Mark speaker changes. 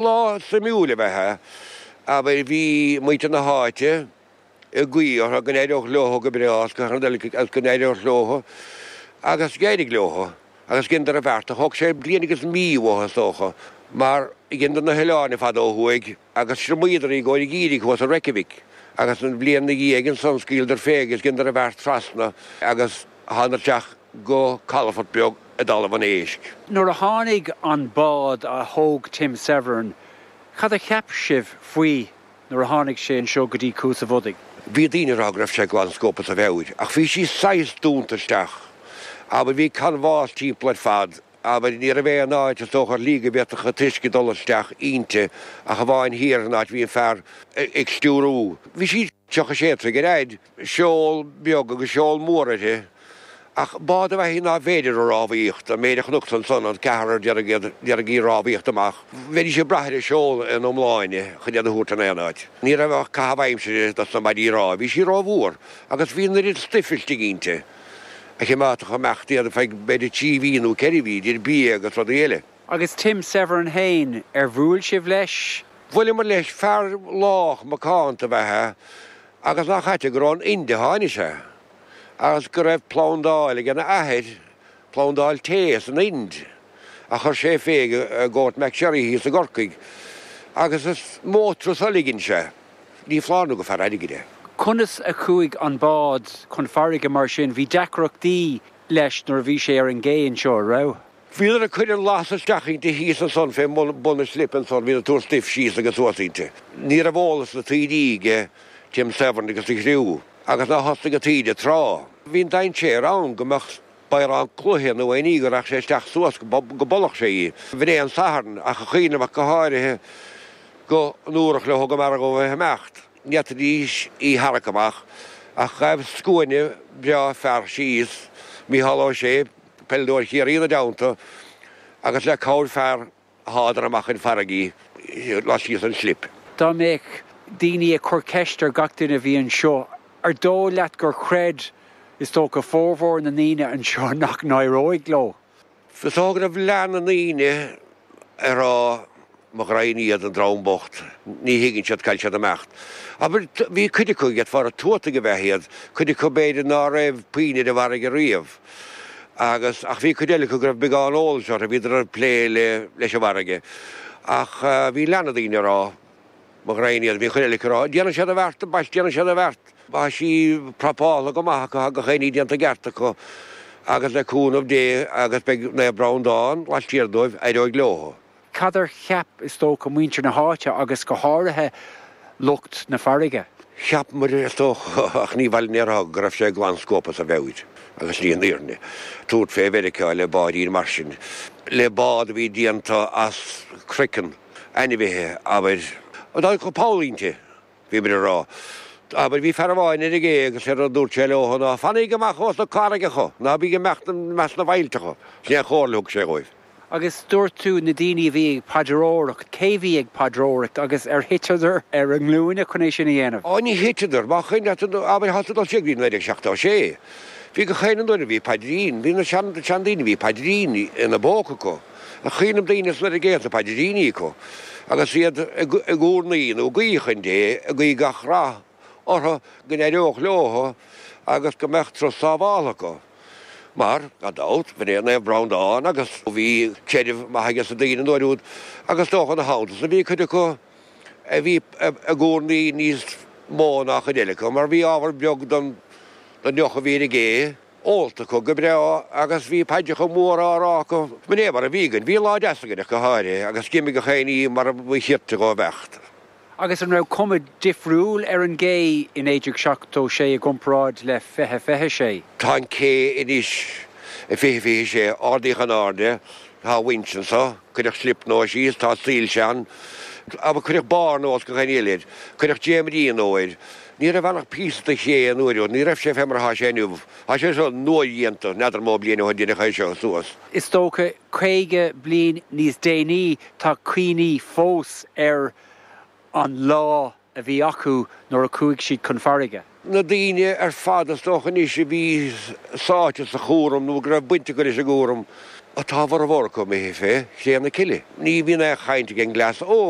Speaker 1: Lá suimiúil ab ea é. Abair, bhí muintir na háite ag guí orthu go n-éireodh leo go breá agus go n-éireodh leo agus d'éirigh leo agus dheineadar an bheart. Thóg sé bliain agus mí uathu is dócha mar dheineadar na hoileáin ar fad ó thuaidh agus thriomaíodar í i gcomhair an gheimhridh thuas i Reykjavik agus an bhliain ina dhiaidh ansan scaoileadar fé agus dheineadar an bheart trasna agus thánadar isteach go calafort beag i dTalamh an Éisc.
Speaker 2: Nuair a tháinig an bád a thóg Tim Severn, cad a cheap sibh faoi nuair a tháinig sé anseo go dtí Cuas a' Bhodaigh?
Speaker 1: Bhí daoine ag rá go raibh sé glan scuabtha as a mheabhair, ach bhí sí saghas dúnta isteach. Abair, bhí canbhás timpeall ar fad, abair, ní raibh aon áit is dócha ar shlí go bhféadfadh an t-uisce dul isteach inti ach amháin thiar an áit a bhí an fear ag stiúrú. Bhí sí 36 troigh ar fhaid, seol beag agus seol mór uirthi, ach bád ab ea í nárbh fhéidir a rámhaíocht, an méid a chonacsa ansan, an ceathrar d'iarraidh í a rámhaíocht amach, bheidís ag brath ar an seol ina iomláine chun iad a thabhairt in aon áit. Ní raibh ach caitheamh aimsire dos na maidí rámha, bhí sí rómhór agus bhí an oiread stuif istigh inti a chimeádfadh ag imeacht iad feadh b'fhéidir trí mhí nó ceithre mhí, idir bia agus rudaí eile.
Speaker 2: Agus Tim Severn fhéin, ar bhuail sibh leis?
Speaker 1: Bhuaileamar leis, fear lách macánta ab ea é agus nach ait gur ón Ind a tháinig sé. agus go raibh plandáil ag a athair, plandáil tae san Ind, a chuir sé fé i nGort McSherry thíos i gCorcaigh, agus is mó turas a ligeann sé. Ní foláir nó gur fear airgid é.
Speaker 2: Conas a chuaigh an bád chun farraige mar sin? Bhí deacrachtaí leis nuair a bhí sé ar an gcé anseo, an raibh?
Speaker 1: Bhíodar ag cur an las isteach inti thíos ansan fé bun an slip ansan, bhíodar ag tabhairt stuif síos agus suas inti. Ní raibh eolas na taoidí aige Tim Severn agus a chriú. Agus nár thosnaigh an taoide tráth. Bhí an dainséar ann go mbeadh bodhrán cloiche nó aon ní go rachadh sé isteach suas go bpollfadh sé í. B'in é an Satharn, ach a chuimhneamh ach go háirithe go ndúradh leo go mb'fhearr dhóibh a bheith ag imeacht. Ní fhéadfaidís í tharrac amach ach ghaibh scuaine breá fear síos, Mícheál Ó Sé, peileadóir Chiarraí ina dteannta, agus le cabhair fear, Shádar amach chun farraige í laistíos den slip.
Speaker 2: Dá mbeadh daoine ag cur ceist ar gach duine a bhí anseo, ar dóigh leat gur chreid, is dócha, formhór na ndaoine anseo nach n-éireoidh leo?
Speaker 1: Is dócha go raibh leath na ndaoine ag rá, mo ghraidhin iad, an dream bocht, ní thuigeann siad cá bhfuil siad ag imeacht. Abair, bhí cuid acu, d'fhéadfá a rá tuataigh ab ea iad, cuid acu b'fhéidir ná raibh puinn ar an bhfarraige riamh. Agus, ach bhí cuid eile acu go raibh beagán eolais orthu, bhíodar ag plé le, leis an bhfarraige. Ach bhí leath na daoine ag rá, mo ghraidhin iad, bhí cuid eile acu ag rá, déanfaidh siad an bheart, ambaist, déanfaidh siad an bheart. Tá sí prapáltha go maith acu, tá gach aon ní déanta i gceart acu agus le cúnamh Dé agus beidh Naomh Breandán laistiar dóibh, éireoidh leo.
Speaker 2: Cad ar cheap, is dócha, muintir na háite agus go háirithe lucht na farraige?
Speaker 1: Cheap muid, is dócha, ach ní mhaith linn é a rá, go raibh sé glan scuabtha as a mheabhair, agus ní an fhírinne, tabhairt fé Mheiriceá le báidín mar sin, le bád a bhí déanta as craiceann ainmhithe, abair, dá dtiocfadh poll inti. Bhí muid ag rá. Abair, bhí fear amháin ar an gcé agus séard a dúirt sé leo ná, Fanaíg amach ós na carraigeacha, ná bíg ag imeacht i measc na bhfaillteacha. Sin é an chomhairle a thug sé dhóibh.
Speaker 2: Agus dúirt tú na daoine a bhí ag paidreoireacht, cé bhí ag paidreoireacht agus ar thiteadar ar a nglúine chun é sin a dhéanamh?
Speaker 1: Á, ní thiteadar. Má chuimhin leat, abair, thá tú ag dul siar go dtí 1976. Bhí gach aon duine, bhí paidrín, bhí na sean, seandaoine, bhí paidrín ina bpóca acu. Cuimhním daoine san ar an gcé is na paidríní acu agus iad ag urnaí nó ag guí chun Dé, ag guí gach rath orthu go n-éireodh leo agus go mbeadh turas sábháltha acu. Mar, gan dabht, b'in é Naomh Breandán agus bhí creideamh maith aige sna daoine an uair úd agus is dócha ina theannta san bhí cuid acu a bhí ag urnaí níos mó ná cuid eile acu mar bhí ábhar beag den deoch a bhí ar an gcé. ólta acu go breá agus bhí paidreacha móra á rá acu. B'in é mar a bhí againn. Bhí lá deas againn ach go háirithe agus d'imigh gach aon ní mar a ba chirte dhó imeacht.
Speaker 2: Agus an raibh cuma difriúil ar an gcé i 1976 i gcomparáid le 2026?
Speaker 1: Tá an cé anois i 2026 ardaíodh in airde, tá winch anso, cuireadh slip nua síos, tá soilse ann, cuireadh barr nua is gach aon ní eile air, cuireadh dréimirí nua air. Ní raibh ann ach píosa de ché an uair úd, ní raibh sé fé mar atá sé inniu. Tá sé seo nua-dhéanta, n'fheadar mó bliain ó shin deineadh é seo suas.
Speaker 2: Is dócha, 50 bliain níos déanaí, tá cuimhní fós ar an lá a bhí acu nuair a chuaigh siad chun farraige.
Speaker 1: Na daoine ar fad is dócha anois a bhí sáite sa chúram nó go raibh baint acu leis an gcúram. Ach tá a bhformhór acu imithe fé chré na cille. Ní bhíonn aon chaint ag an gcleas óg.